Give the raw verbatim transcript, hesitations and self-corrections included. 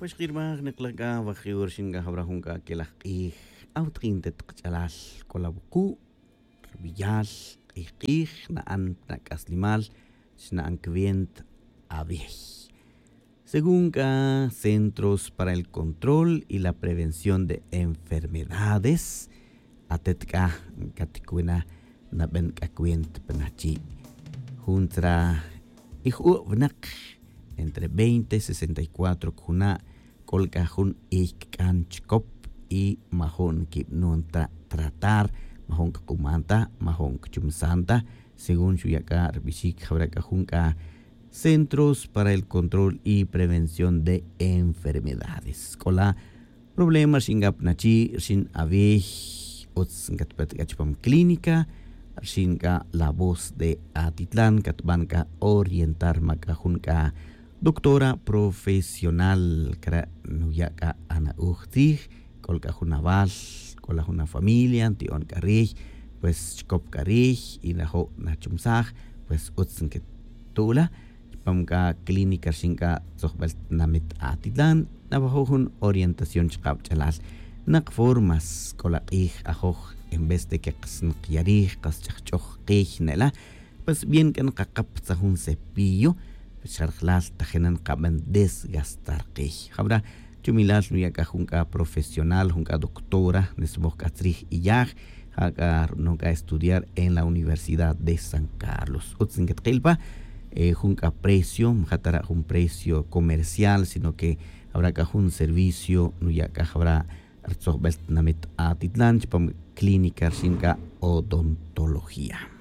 Xkirmaj niklaj k'a wajiw rixin k'a jawra jun k'a kelaj q'ij. Awtaqin te taq ch'alal k'ola wuqu' rubiyal q'ij q'ij na'an na k'aslimal xna'an cuenta. Awej según k'a centros para el control y la prevención de enfermedades. Atet k'a katikuna naben k'a cuenta pa nachi' jun tzra ij'u' wineq entre veinte sesenta y cuatro kujuna' k'ol k'a jun ey kik'an chikop y majo'n kib'anon ta tratar, majo'n kikuman ta, majo'n kichumsan ta según xuya' k'a ribixik jawra' k'a jun k'a centros para el control y prevención de enfermedades k'ola problema rixin k'a pa nachi' rixin awiy utz nkatpet k'a chupam clínica rixin k'a la voz de atitlan katban k'a orientar ma k'a jun k'a doctora profesional kare' nuya' k'a ana'uj tzij k'ol k'a jun awal k'ola jun afamilia nti'on k'a riy pues chikop k'a riy y najo' nachumsaj pues utz nkitu'la chupam k'a clínica rixin k'a tzojbel tinamit atitlan nawajo' jun orientación chaqab ch'alal naq formas k'ola q'ij ajoj en vez de que qas nqyarij qas ch'ajch'oj qiy ne'la pues bien k'a nqaqap tzaj jun cepillo pues xa rajlal tajina nqaben desgastar qiy jawra chumilal nuya' k'a jun k'a profesional jun k'a doctora nismoj k'a tzrij iyaj ja' k'a ru'non k'a estudiar en la universidad de san carlos utz nkitqil pa jun k'a precio maja' tara' jun precio comercial sino que jawra k'a jun servicio nuya' k'a jawra' rtzojbel tinamit atitlan chupam clínica rixin k'a odontología.